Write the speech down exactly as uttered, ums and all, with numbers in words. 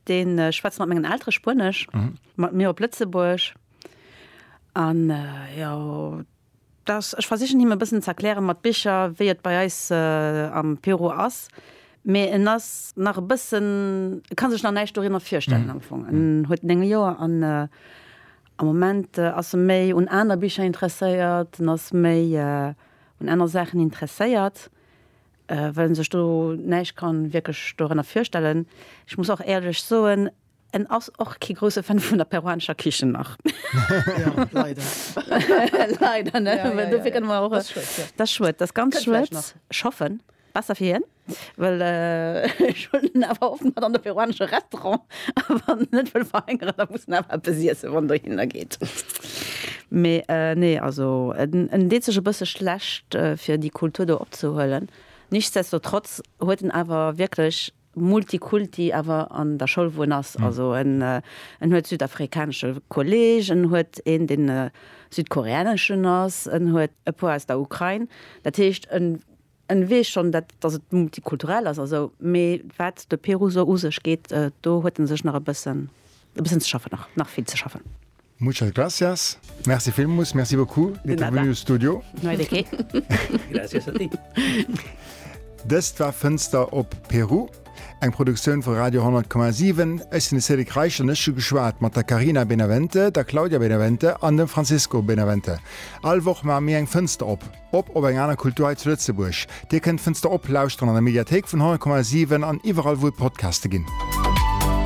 Dee schwätzt mat mengen Eltere Spuenesch, mat mir op Lëtzebuergesch. An jo, dass, ech versichen him e bëssen ze erklären mat Bicher, wéi et bei eis am Peru ass. Mee en ass nach e bëssen, e ka sech nach näischt dorinner virstellen am Fong. En huet néng Joer an am Moment ass e méi un aner Bicher interesséiert, en ass méi un aner Saachen interesséiert, well en sech do näischt kann wierklech dorënner virstellen. Ech muss och éierlech soen, en ass och kee grousse Fan vun der peruanescher Kichen nach. Ja, leider. Leider, ne? Ja, ja, ja, Dofir kënne mer och. Dat ass schued, ja. Dat ass schued, dat ass ganz Kënnt vläicht schued. nach. Ech hoffen, besser fir hien, well ech huelen en awer oft mat an de peruanesche Restaurant a wann en net wëll verhëngeren, da muss en awer eppes iessen, wann en dohinner geet. Mee nee, also en en deet sech e bësse schlecht, fir déi Kultur do opzehuelen. Nichtsdestotrotz huet en awer wierklech Multikulti awer an der Schoul wou en ass. Also en en huet südafrikanesche Kolleeg, en huet een deen südkoreaneschen ass, en huet e puer aus der Ukrain. Dat heescht en en weess schonn dat datt et multikulturell ass a sou, mee wat de Peru sou u sech geet, do huet en sech nach e bëssen e bëssen ze schaffen nach, nach vill ze schaffen. Muchas gracias. Merci villmools. Merci beaucoup De d'être venu nada. au studio. No hay de qué. Gracias a ti. Dëst war Fënster op Peru, eng Produktioun vu Radio honnert Komma siwen. Ech sinn de Cédric Reichel an ech hu geschwat mat der Carina Benavente, der Claudia Benavente an dem Francisco Benavente. All Woch maache mir eng Fënster op, op op eng aner Kultur hei zu Lëtzebuerg. Dir kënnt Fënster op lauschteren an der Mediathéik vun honnert Komma siwen an iwwerall wou et Podcaste ginn.